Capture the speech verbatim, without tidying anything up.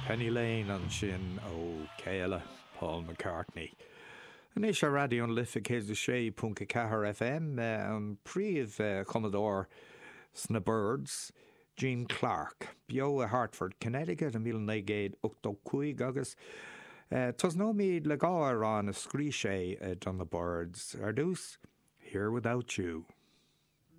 Penny Lane ansin ó chéile Paul McCartney. Anois ar Raidió na Life céad a sé ponc ceathair FM an príomh-chumadóir sna Byrds, Gene Clark, beo i Hartford, Connecticut i míle naoi gcéad ochtó cúig agus tosnóimid le dhá amhrán a scríobh sé do na Byrds ar dtús, Here Without You.